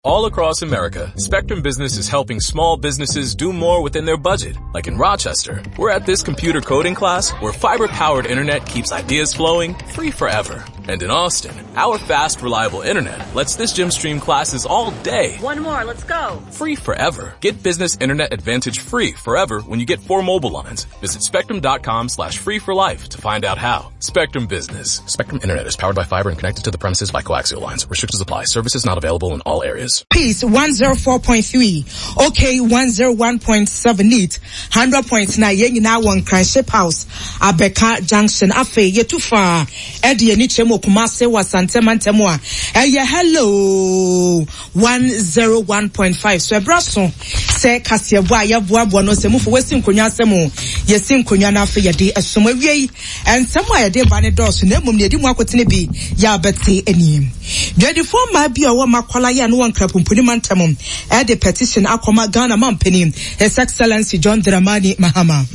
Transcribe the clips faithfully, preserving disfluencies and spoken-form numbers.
All across America, Spectrum Business is helping small businesses do more within their budget. Like in Rochester, we're at this computer coding class where fiber-powered internet keeps ideas flowing free forever. And in Austin, our fast, reliable internet lets this gym stream classes all day. One more, let's go. Free forever. Get business internet advantage free forever when you get four mobile lines. Visit spectrum.com slash free for life to find out how. Spectrum Business. Spectrum Internet is powered by fiber and connected to the premises by coaxial lines. Restrictions apply. Services not available in all areas. Peace one zero four point three, OK one zero one point seven eight, hundred point nine. Yɛn nyinaa wɔ Nkran Ship House, Abeka Junction. Afei yɛtu fa ɛde yɛn ani kyerɛ mu Kumase wɔ Asante mantam a ɛyɛ Hello one zero one point five. So ɛbra so sɛ kaseɛbɔ a yɛboaboa no sɛ mufo wɔsi nkonnwa asɛm o, yɛsi nkonnwa no afei yɛde ɛsom awie yi. Nsɛm a yɛde ba ne dɔɔso na mmom deɛ yɛdi mu akotene bi yɛ abɛte anim. Dwadifoɔ mmaa bi a wɔwɔ Makwala yɛ no wɔ Nkrapumpuni mantam ɛde petition akɔma Ghana mampanin His Excellency John Dramani Mahama.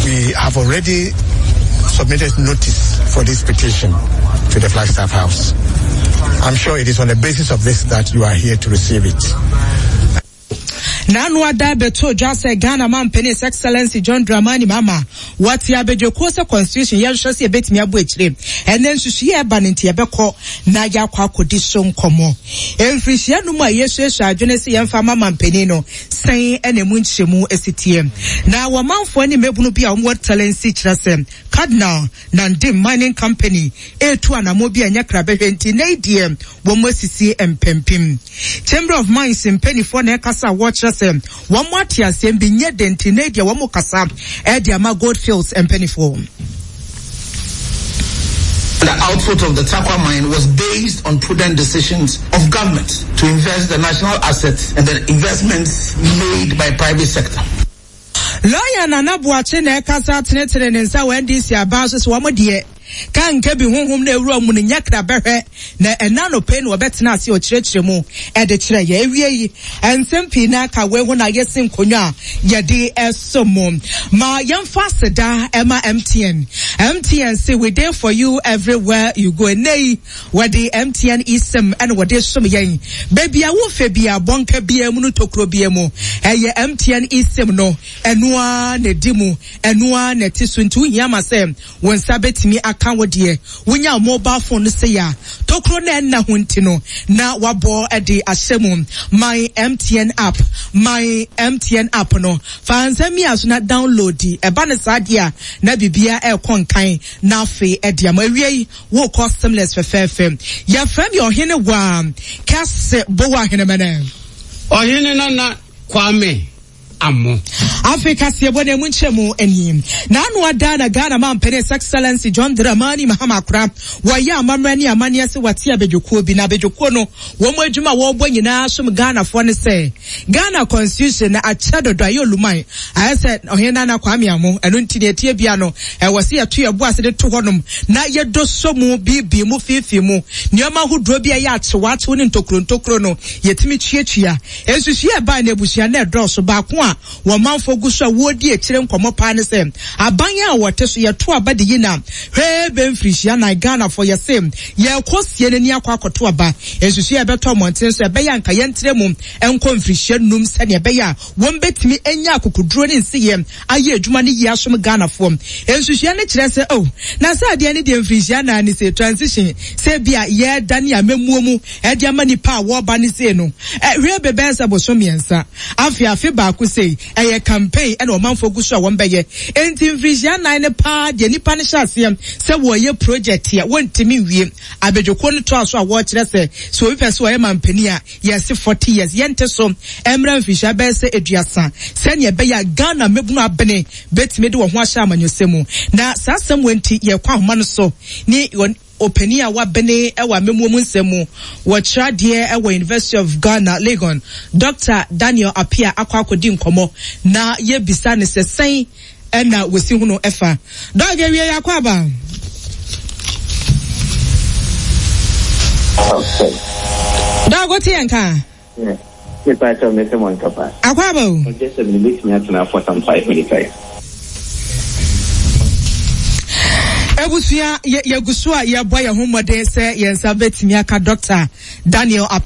We have already submitted notice for this petition to the Flagstaff House. I'm sure it is on the basis of this that you are here to receive it. N'ano ada bɛto dwa sɛ Ghana mampanin His Excellency John Dramani Mahama wɔte abadwakuo sɛ constitution yɛhwɛ sɛ yɛbɛtumi abɔ akyire. Ɛnɛ nsusuiɛ ɛba no nti yɛbɛkɔ na yɛakɔ akɔdi so nkɔmmɔ. Mfirihyia no mu a yɛsuasua adwene sɛ yɛmfa ma mampanin no sɛn ɛna emu nkyerɛmu esi teɛ. Na wɔmanfoɔ ne mmabunu bi a wɔwɔ talensi kyerɛ sɛ Cardinal Nandim Mining Company etu anamo bi a ɛnyɛ krabɛhwɛ nti na deɛ wɔn asisi mpempem. Chamber of Mines mpanimfoɔ na ɛkasa a wɔkyerɛ sɛ wɔn ate asɛm bi nyɛ den nti na deɛ wɔn kasa ɛde ama Goldfields mpanimfoɔ. The output of the Tarkwa mine was based on prudent decisions of government to invest the national assets and the investments made by private sector. Lawyer Nana Boakye na ɛkasa tenetene ne nsa wɔ N D C aban so sɛ wɔn deɛ ka nka bi honhom na ewura mu no nyɛ krabɛhwɛ na ɛna no pɛ na wɔbɛtena ase ɔkyerɛkyerɛ mu ɛde kyerɛ yɛ. Ewie yi, nsɛm pii na aka wei ho na yɛsi nkonnwa a yɛde ɛso mu ma yɛmfa aseda ɛma M T N. M T N say we there for you everywhere you go. Ɛnɛ yi wɔde M T N eSIM ɛna wɔde som yɛn beebi a wofɛ bi a bɔnka bia mu no tokuro bia mu, ɛyɛ M T N eSIM no, ɛnoa na ɛdi mu, ɛnoa na ɛte so. Nti wohia ma sɛ wɔn nsa bɛtumi aka wo deɛ wonya mobile phone no sɛ yɛ a tokuro na ɛnna ho nti no na wabɔ ɛde ahyɛ mu. My M T N app, My M T N app no, fa nsɛm yi a so na download. Ɛba ne saa deɛ a na biribia ɛrekɔ nkan na afei ɛde ama. Awie yi, wokɔ seamless fɛfɛɛfɛ. Yɛfrɛ mi Ɔhene Waa Kɛse Bowa Ahenemɛnɛ. Ɔhene Nana Kwame Amo. Afei kaseɛbɔ na emu nkyɛn anim n'ano ada na Ghana mampanin His Excellency John Dramani Mahama akora wɔyɛ amammerɛ ne amanneɛ sɛ wɔate abadwakuo bi na abadwakuo no wɔn adwuma a wɔrebɔ nyinaa som Ghanafoɔ ne sɛ Ghana constitution na akyɛ dodo ayɛ oluman ayɛ sɛ Ɔhene Nana Kwame Amo. Ɛno nti ne ɛtie bia no ɛwɔ sɛ yɛto yɛbo ase de to hɔnom na yɛdɔ so mu biibii mu fiifii mu nneɛma ahodoɔ bi a ɛyɛ akyewakyew ne ntokuro ntokuro no yɛtumi tuatua. Nsusuiɛ ɛbaa no abusua na ɛdɔɔso. Baako a wɔn manfoɔ gu so a wɔredi akyire nkɔmmɔ paa ne sɛ aban a wɔte so yɛto aba de yi na hwee bɛ mfirihyia nan Ghanafoɔ yɛse yɛkɔ sie n'ani akɔ akɔto aba. Nsusuiɛ ɛbɛtɔ mmɔnten so ɛbɛyɛ anka yɛntrɛ mu nkɔ mfirihyia num sɛnea ɛbɛyɛ a wɔn bɛtumi anya akokoduro ne nsiyɛ ayɛ adwuma no yie asom Ghanafoɔ. Nsusuiɛ no kyerɛ sɛ oh, na sɛ adeɛ no deɛ mfirihyia nan ne sɛ transition sɛ bi a yɛda ne amammuo mu ɛde ama nipa a wɔreba ne sei no hwee bɛbɛyɛ sɛ boso mmiɛnsa afe afe baako sei ɛyɛ campaign ɛna ɔmanfoɔ gu so a wɔn bɛyɛ. Enti mfirihyia nan ne paa deɛ nipa no hyɛ aseɛ sɛ wɔyɛ project a wɔntumi nwie. Abadwakuo no toa so a wɔrekyerɛ sɛ sɛ obi pɛ sɛ ɔyɛ mampanin a yɛsi forty years yɛnte so mmerɛ mfirihyia bɛyɛ sɛ aduasa sɛnea ɛbɛyɛ a Ghana mmabunu abene bɛtumi de wɔn ho ahyɛ amanyɔsɛm mu. Na saa asɛm wɔ nti yɛkɔ ahoma no so ne ɔpanin a wabene wɔ amammuo mu nsɛm mu, wɔkyerɛ adeɛ wɔ University of Ghana, Legon, Doctor Daniel Apia, akɔ akɔdi nkɔmmɔ na yɛbisa ne sɛ sɛn ɛna wɔsi ho no ɛfa. Doc, awie yɛ akɔ aba. Doc, wote yɛn ka? Mepa kyɛw, mese mo nkapa. Akɔ aba o. Ɔgye sɛ mene bɛtumi atena for some five minutes ayi. Abusua, yɛgu so a yɛbɔ yɛn ho mmɔden sɛ yɛn nsa bɛtumi aka Doctor Daniel Apia.